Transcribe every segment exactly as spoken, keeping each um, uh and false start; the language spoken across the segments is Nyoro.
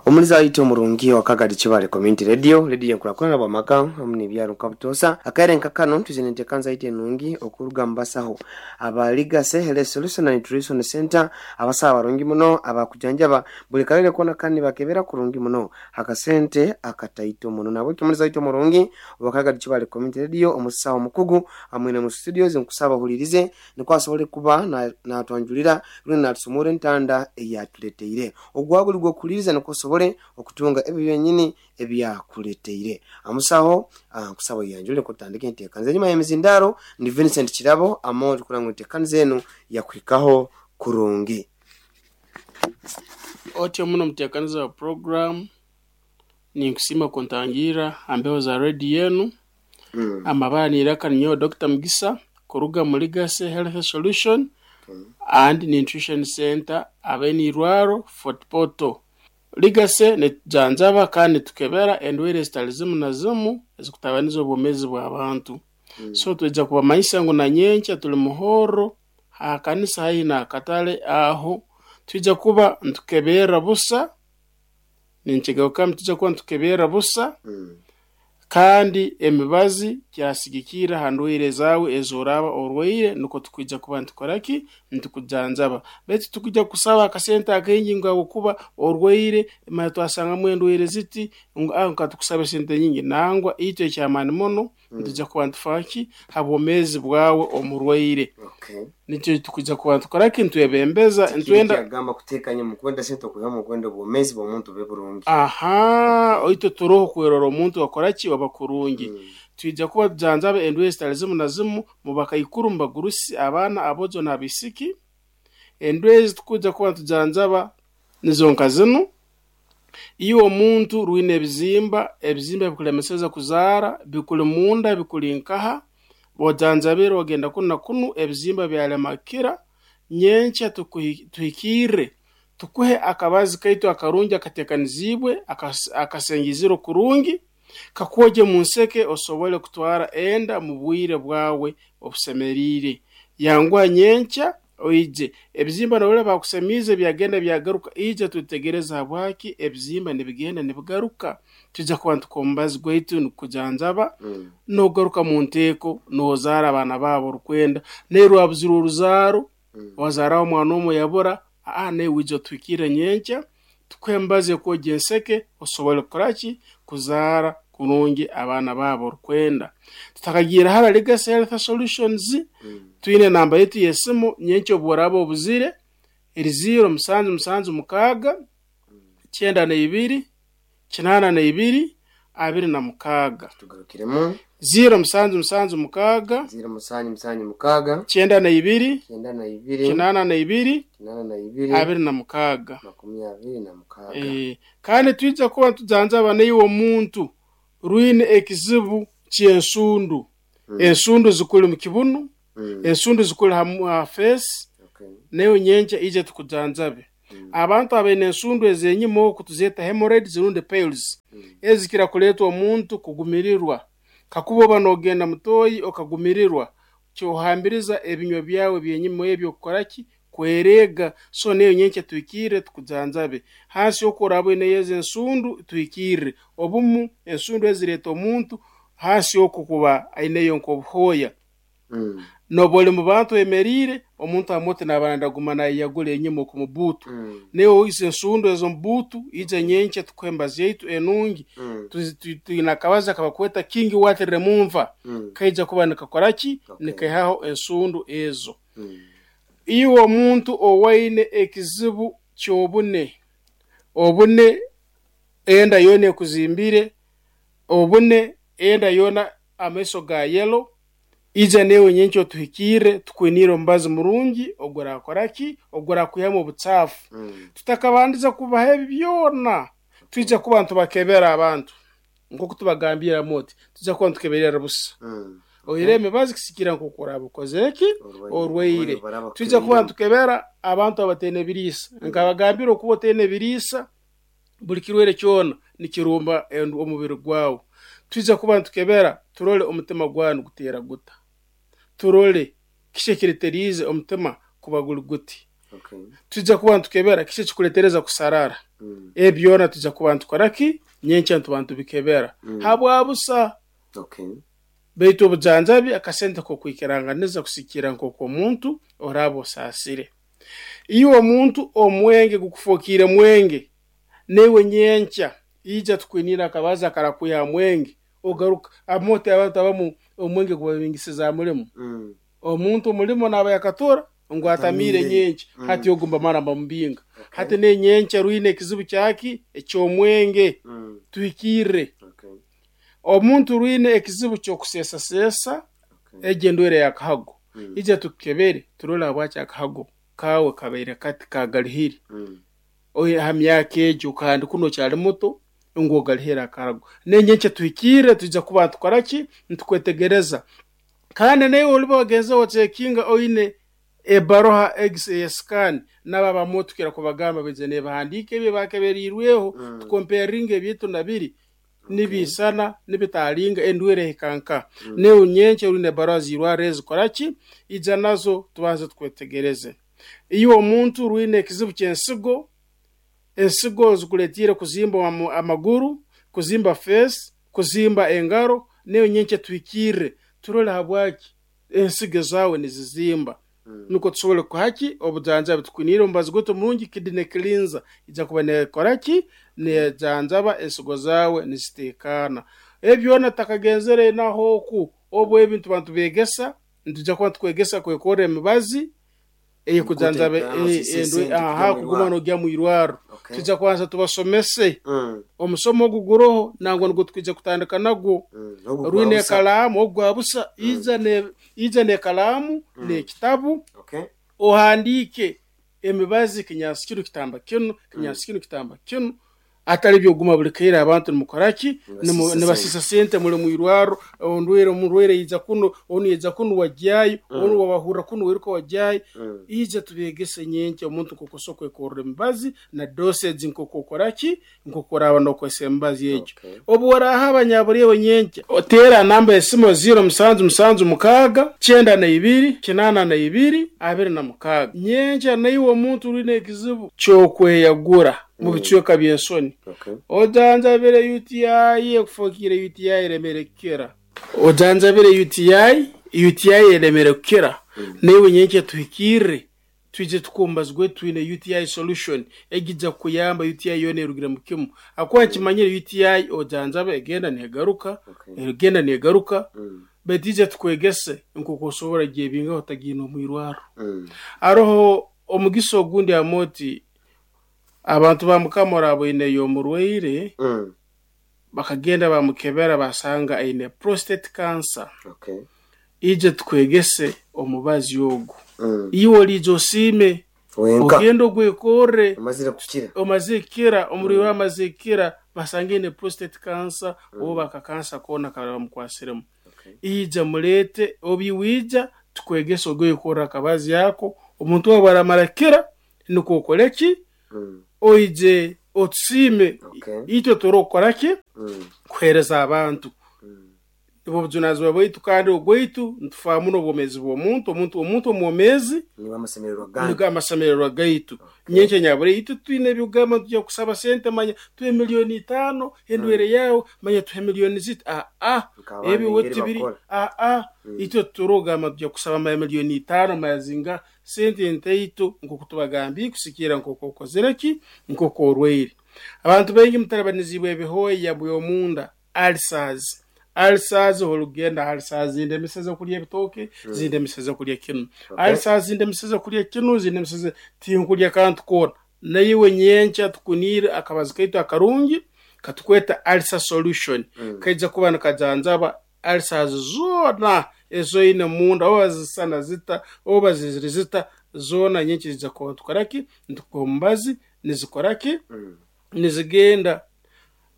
Omuliza waitu omurungi wa Kagadi Kibale Community Radio, radio enkurakurana bwamaka hamu n'ebyaro nka butoosa. Akaire nka kano twizire enteekanisa yaitu enungi okuruga mu basaho aba Legacy Health Solution and Nutrition Center, abasaho abarungi muno abakujanjaba buli karere koona kandi bakebera kurungi muno akasente akataito muno. Nabwekyo omuliza waitu omurungi owa Kagadi Kibale Community Radio, omusaho omukugu amwine mu studios, nkusaba ohulirize nikwo asobole kuba natwanjulira rundi natusomora entanda eyatuleteire. Ogwa guli gw'okuhuliriza nikwo osobole okutunga ebyo byenyini ebyakuleteire. Amusaho nkusaba oyanjule kutandika enteekaniza. Enyuma y'emizindaro ndi Vincent Kirabo amo tukurora ngu enteekaniza enu yakuhikaho kurungi. Otyo muno muteekaniza wa program, ninkusiima kuntangiira ha mbeho za radio enu. Mm. Amabara niraka ninyowe Doctor Mugisa kuruga mu Legacy Health Solution and Nutrition Center abaine irwaro Fort Portal. Legacy nitujanjaba kandi nitukebera endwaire ezitali zimu na zimu ezikutabaniza obwomeezi bw'abantu. Mm. So twija kubamanyisa ngu na nyenkya tuli muhorro ha kanisa haihi n'akatale aho twija kuba nitukeberra busa, ninkigarukamu twija kuba nitukeberra busa. Mm. Kandi emibazi kyasigikirra ha ndwaire zaawe ez'oraaba orwaire, nukwo tukwija kuba nitukora ki, nitukujanjaba. Baitu tukwija kusaba akasente akaingi ngu habwokuba orwaire mara twasangamu endwaire ziti ngu ah katukusabe sente nyingi. Nangwa itwe ekyamaani muno nitwija kuba nitufa ki ha bwomeezi bwawe omurwaire. Okay. Nikyo tukwija kuba nitukora ki, nitwebembeza nitwenda Kyagamba kuteekanya mu kwenda sente okwihamu okwenda obwomeezi bw'omuntu bube burungi. Aha, itwe turoho kwerora omuntu akora ki oba kurungi. Mm. Twija kuba tujanjaba endwaire zitali zimu na zimu mu bakaikuru, mu bagurusi, abaana, abojo n'abaisiki. Endwaire ezi tukwija kuba nitujanjaba nizo nka zinu: iwe omuntu rwine ebizimba, ebizimba bikulemeseza kuzaara, bikuli munda, bikuli nkaha, bojanjabire ogenda kunu na kunu, ebizimba byalema kukira, nyenkya tukuhi- tuhikirre tukuhe akabazi kaitu akarungi akateekaniziibwe, akas- akasengizire kurungi, kakwogye mu nseke osobole kutwara enda mu bwire bwawe obusemeriire. Yanguha nyenkya oije. Ebizimba norora bakusemiize byagenda byagaruka, ija twetegereze habwaki ebizimba nibigenda nibigaruka. Twija kuba nitukuha omubazi gwaitu nikukujanjaba, Mm. nogaruka mu nteeko nozaara abaana baabo orukwenda. Naye rwabuzire oruzaaro, Mm. wazaaraho omwana omwe yabura, aa nawe wija otuhikirre nyenkya tukuhe emibazi ekwogya enseke osobole kukora ki, kuzaara kurungi abaana baabo orukwenda. Tutakagiire hara Legacy Health Solutions, Mm. twine namba yaitu y'esimu nyenkya obu oraaba obuzire, eri ziro musanju musanju mukaaga kyenda na ibiri kinaana na ibiri abiri na mukaaga. Tugarukiremu. Ziro musanju musanju mukaaga Ziro musanju musanju mukaaga kyenda na ibiri kyenda na ibiri kinaana na ibiri kinaana na ibiri abiri na mukaaga. makumi abiri na mukaaga. Eh, kandi twija kuba nitujanjaba naiwe omuntu rwine ekizibu ky'ensundu. Mm. Ensundu zikuli mu kibunu, Mm. ensundu zikuli ha, ha face, Okay. nayo nyenkya ije tukujanjabe. Mm. Abantu abaine ensundu ez'enyima oku tuzeeta hemorrhoids rundi piles, Mm. ezikira kuleetwa omuntu kugumirirwa. Kakuba oba noogenda mutoyi okagumirirwa, kyohambiriza ebinywa byawe byenyima ebyo kukora ki, kwereega. So nayo nyenkya tuhikirre tukujanjabe. Hansi oku oraaba oineyo ezo ensundu tuhikirre. Obumu ensundu ezireeta omuntu hansi oku kuba aineyo nk'obuhooya. Mm. Nooba oli mu bantu oyemeriire, omuntu amuti naaba nandaguma nayeyagura enyima oku mu buutu. Mm. Nawe izo ensundu ez'omu buutu, ija nyenkya tukuhe emibazi yaitu enungi. Mm. Tuzi- tu- Twine akabazi akabakweta King Wat Remover, Mm. kaija kuba nikakora ki, Okay. nikaihaho ensundu ezo. Mm. Iwe omuntu owaine ekizibu ky'obune, obune enda yoona ekuzimbire, obune enda yoona amaiso ga yellow, ija newe nyenkya otuhikirre tukwiniire omubazi murungi ogurakora ki, ogurakwihamu obucaafu. Mm. Tutakabandiza kubaha ebi byona, twija kuba nitubakebera abantu nk'oku tubagambiramu oti twija kuba nitukeberera busa. Mm. Oire emibazi kisikira nk'oku oraaba okozere ki, Orwaire. orwaire. Baraba Twija kuba kukeberera. nitukebera abantu abataine ebiriisa. Nkabagambira okuba otaine ebiriisa, buli kirwaire kyona nikirumba endu- omubiri gwawe. Twija kuba nitukebera turole omutima gwawe niguteera guta, turole kiki ekireteriize omutima kuba guli guti. Okay. Tujja kuba ntukebera kiki ekikuletereza kusarara. Mm. Ebyona tujja kuba ntukoraki nyenkya ntuba ntubikebera Mm. habwabusa. Okay. Baitu obujanjabi akasente kokwikiranganiza kusikira nk'oku omuntu oraba osaasire. Iwe omuntu omwenge gukufokiire mwenge, newe nyenkya ija tukwinira akabaza akarakwiha mwenge ogaruka amote. Abantu abamu omwenge gubabingisiza mulimo. Mm. Omuntu omulimo naaba yakatora ngu atamiire Atamiire. nyenkya. Mm. Hati ogu mbamara mbamubinga. Okay. Hati nenyenkya rwine ekizibu kyaki eky'omwenge. Mm. Tuhikirre. Okay. Omuntu rwine ekizibu ky'okuseesaseesa. Okay. Egyo endwera yakahago. Mm. Ija tukukebere turole habwaki akahago kawe kabaire kati kagalihire. Mm. Oye ha myaka egyo kandi kuno okyali muto ngu ogalihire akarago. Nenyenkya tuhikirre tujja kuba ntukoraki ntukwetegereza. Kandi nawe oliba wagenze wacekinga oine ebaroha egisi eyesikaani nabo abamu tukira kubagamba baije nebahandiika ebyo bakeberirweho. Mm. Tukomperinga ebyitu nabiri nibisana nibitalinga endwire ehikanka. Newe nyenkya orine ebaroha zirwara ezikoraki ija nazo tubanze tukwetegereze. Iwe omuntu rwine ekizibu ky'ensigo, ensigo zikuletire kuzimba amu- amaguru, kuzimba face, kuzimba engaro, newe nyenkya tuhikirre turole habwaki ensigo zaawe nizizimba. Mm. Nuko tusobole kuhaki obujanjabi. Tukwinire omubazi gwaitu omurungi kidney cleanser, ija kuba nekoraki nejanjaba ensigo zaawe niziteekaana. Ebyona takagenzere naho oku obu ebintu bantu begesa nitujja kuba tukwegesa kwekorra emibazi eyekujanjaba. Kuteekaana, osise sente aha kugya mu kuguma irwarro. nogya mu irwarro. Okay. Tujja kubanza tubasomese. Mm. Omusomo ogu guroho nangwa nigwo tukwija kutandika nagwo. Mm. Ogu Rwine gwa busa. ekalaamu ogwa busa, ija ne ija n'ekalaamu n'ekitabu. Okay. Ohandiike emibazi, kinyansi kinu kitamba kinu, kinyansi kinu kitamba kinu, atali byoguma buli kaire abantu nimukoraki. Nibasisa. Nibasisa sente muli mwirwaro. Ondwire omurwaire yija kuno, onu yija kuno wajyayo, onu wabahurra kuno wiruka wajyayo. Mm. Ija tubegese nyenkya omuntu nkokusobola kwekorra emibazi na dosage nk'oku okoraki nk'oku oraaba nokozesa emibazi egyo. Okay. Obu oraha abanyaburyewe nyenkya oteera namba esimu ziro musanju musanju mukaaga kyenda na ibiri kinaana na ibiri abiri na mukaaga. Nyenkya naiwe omuntu orine ekizibu ky'okweyagura mu bicweka by'ensoni. Okay. Ojanjabire U T I ekufokire U T I eremere kukira, ojanjabire U T I, U T I eremere kukira, naiwe nyenkya tuhikirre twije tukumbazigwe. Twine U T I solution egijja kukuyamba U T I yona erugire mu kimu akuba nkimanyire U T I ojanjaba egenda negaruka. Okay. Egenda negaruka. Mm. Baitu ija tukwegese nkoku osobola gyebingaho otagiine omwirwaro. Mm. Aroho omugisa ogundi amoti abantu ba mukama oraboineyo omurwaire. Mm. Bakagenda bamukebera basanga aine prostate cancer. Okay. Ije tukwegese omubazi ogu. Mm. Iwe oliija osiime. Wenka. Ogenda ogwekorre. Amazire kukira. Omaze kukira omurwaire, amaze kukira basanga aine prostate cancer oba akakansa koona kaba bamukwasiremu. Okay. Ija mulete obiwija tukwegese ogwekorra akabazi ako. Omuntu waba aramara kukira nikwo okoreki. Mm. Oije otusiime. Okay. Itwe turokukoraki Mm. kuheereza abantu. Mm. Nibwo bujunanizibwa bwaitu kandi ogwaitu nitufaamu n'obwomeezi bw'omuntu. Omuntu omuntu omwomeezi Niba amasemererwa gange. nigo amasemererwa gaitu. Nyenkya nyabure itwe twine ebyokugamba tujya kusaba sente, manya tuhe miliyoni itaano endwere yawe, manya tuhe miliyoni ziti aa. Nk'abandi Ebi engeri tibiri bakora. Aa, itwe turogamba tujya kusaba manya miliyoni itaano mazinga sente ntaito nkoku tubagambiye kusikira nkoku okozere ki nkoku orwaire. Abantu baingi mutalabanizibwa ebihooya by'omunda, ulcers. Ulcers olugenda ulcers zindemeseza kulya ebitooke, zindemeseza kulya kinu. Okay. Ulcers zindemeseza kulya kinu, zindemeseza tinkulya kantu koona. Naiwe nyenkya tukuniire akabazi kaitu akarungi katukweta ulcer solution. Mm. Kaija kuba nikajanjaba ulcers zoona ezoine munda, oba zisana zita oba ziziri zita, zoona nyenkya zijja kuba tukoraki nitukuha omubazi nizikoraki. Mm. Nizigenda.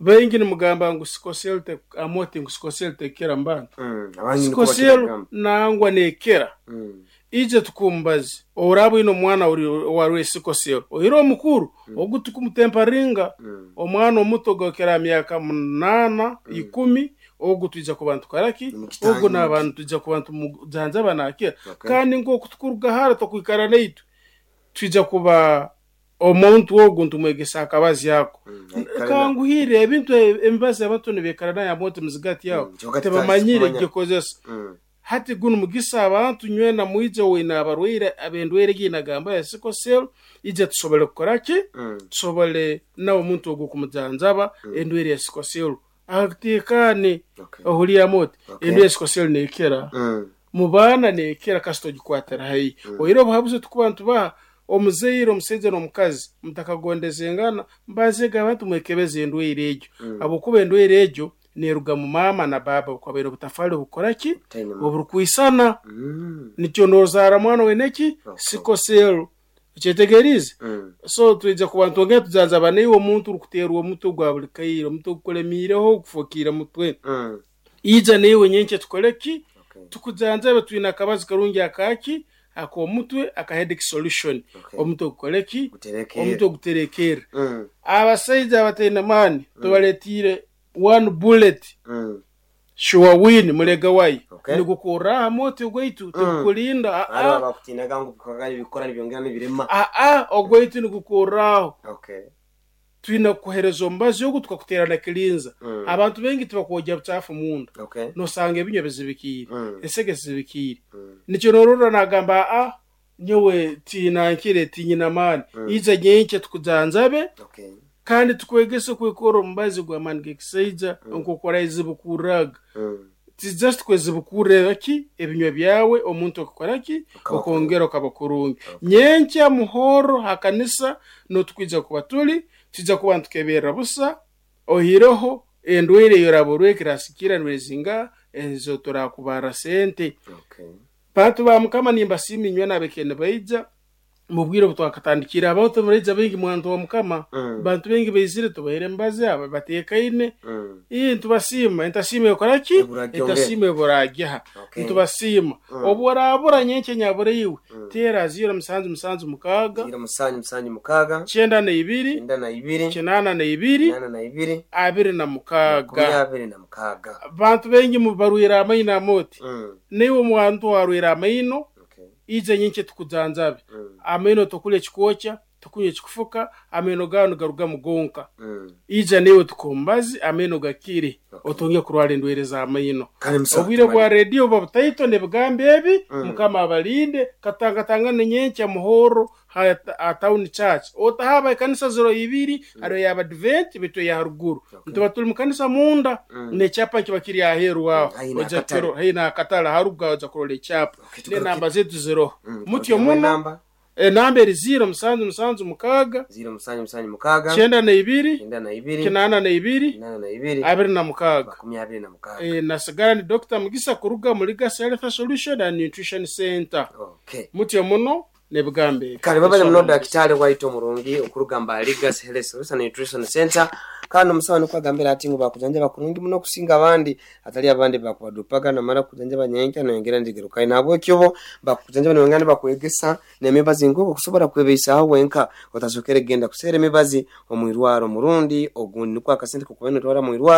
Baingi nimugamba ngu sickle cell te amoti ngu sickle cell tekera mbantu. Mm. Abandi niko Sickle cell bakiragamba. nangwa nekera. Mm. Ije tukumbazi oraba ino omwana warwe sickle cell oire omukuru ogu tukumutemparinga. Mm. Omwana omuto gokera myaka munana ikumi ogu twija kuba ntukoraki. Nimukitanga. Ogu n'abantu twija kuba ntumujanjaba nakira. Okay. Kandi nkoku tukuruga hara tokwikara naitwe. Twija kuba omuntu ogu ntumwegesa akabazi ako. Mm, aikare na- Kanguhire ebintu emibazi abantu nibekara nayo amote muzigati yawo. Mm, kyonka Tebamanyire tutazi gikozesa. Mm. Hati guno mugisa abantu nywena mwije wina abarwaire abendwaire ginagamba ya sickle cell, ije tusobole kukora ki? Mm. Tusobole nawe omuntu ogwo kumujanjaba endwaire ya sickle cell atekane. Okay. Ohuliramu oti Okay. endwaire ya sickle cell nekera Mm. mu baana, nekera kasita ogikwatira haihi. Oire obuhabuzi tukuba ntubaha omuzaire, omusaija n'omukazi mutakagondezengana, mbazega abantu mwekebeze endwaire egyo, habwokuba endwaire egyo neruga mu maama na baba bukwabaire obutafali obukora ki? Butaine mu- Oburukwisana. Mm. Nikyo nozaara mwana weneki Okay. sickle cell, okyetegerize? Mm. So twija kuba ntwongera tujanjaba naiwe omuntu orikuteerwa omutwe gwa buli kaire, omutwe gukulemiireho, gufokiire mutwe. Mm. Ija naiwe nyenkya tukole ki? Okay. Tukujanjabe. Twine akabazi karungi akaki ak'omutwe, aka headache solution. Okay. Omutwe gukole ki? Guterekere. Omutwe guterekere. Mm. Abasaija abataine maani tubaletiire one bullet Mm. sure win mulega wayi. Okay. Nigukurra aha moti ogwaitu, tigukulinda. Hariho Aa. abakutinaga ngu bikora bikora nibyongera nibirema. Aa, ogwaitu nigukurraho. Okay. Twine kukuhereza omubazi ogu, tukakuteera na kirinza. Mm. Abantu bengi tibakwogya bucafu munda. Okay. Nosanga ebinywa bizibikiire, Mm. ensege zizibikiire. Mm. Nikyo norora nagamba, aa, nyowe tinankire, tinyina maani. Ija nyenkya tukujanjabe. Okay. Kandi tukwegese kwekora omubazi gw'amaani g'ekisaija nk'okora ezibukurraga. Mm. Ti just kwezibukurra ki ebinywa byawe, omuntu okukora ki? Ukaba. Okongera okaba kurungi. Nyenkya muhoro hakanisa notukwija kuba tuli tujja kuba ntukeberera busa, ohireho endwaire eyoraba ekirasikira ndwaire ezo turakubara sente. Okay. Bantu ba Mukama, nimbasiima inywe nabekene baija mubwire obutwakatandikire. Abantu baraija baingi, mwantu wa Mukama. Mm. Bantu baingi baizire, tubaire embazi aba batekaine. Mm. Ii, ntubasiima. Entasiima ekora ki? Eburagyongera. Entasiima eburagyaha. Okay. Ntubasiima. Mm. Obu orabura nyenkya nyabura iwe, teera ziro musanju musanju mukaaga, Ziro musanju musanju mukaaga, kyenda na ibiri, kyenda na ibiri, kinaana na ibiri, nana na ibiri, abiri na makumi mukaaga. Abiri na mukaaga. Bantu baingi mubarwire amaino amoti. Mm. Naiwe omuntu warwire amaino, Okay. ija nyenkya tukujanjabe. Mm. Amaino tokulya ekikokya, tokunywa ekikufuka, amaino gawe nigarugamu gonka. Mm. Ija niwe tukumbazi amaino gakire, Okay. otonge kurwara endwaire z'amaino. Kale musawo, Obwire bwa tumali- rediyo buba butaito nebigambo ebi. Mm. Mukama abalinde. Katangatangane nyenkya muhoro ha ha town church, otahaba ekanisa ziro ibiri, hariyo y'abadvent bitu ya haruguru. Okay. Ntuba tuli mukanisa munda. Mm. Nekyapa kiba kiri aheru aho. Haihi Oja n'akatale. kiro- haihi n'akatale haruga oja kurora ekyapa. Okay, tugaruke- Nenamba zetu ziroho. Mm, Mutyo tugarukiremu muno. enamba. Enamba eri ziro musanju musanju mukaaga, Ziro musanju musanju mukaaga, kyenda na ibiri, kyenda na ibiri, kinaana na ibiri, kinana na ibiri, abiri na mukaaga. Makumi abiri na mukaaga. E, nasigara ni Doctor Mugisa kuruga muri Legacy Health Solution and Nutrition Center. Okay. Mutyo muno nebigambo ebi. Kale babale muno dakitari waito omurungi okurugamba Legacy Health Solution and Nutrition Center. Kandi omusawo nikwo agambira ati ngu bakujanjaba kurungi muno kusinga abandi, atali abandi bakubadupaga namara kujanjaba nyenkya noyongera ndigerukayo. Nahabwekyo bo bakujanjaba nibongera nibakwegesa n'emibazi nk'oku okusobora kwebeisaho wenka, otasokere genda kuseera emibazi omwirwaro omurundi ogundi, nikwo akasente kokuba notwara mwirwaro.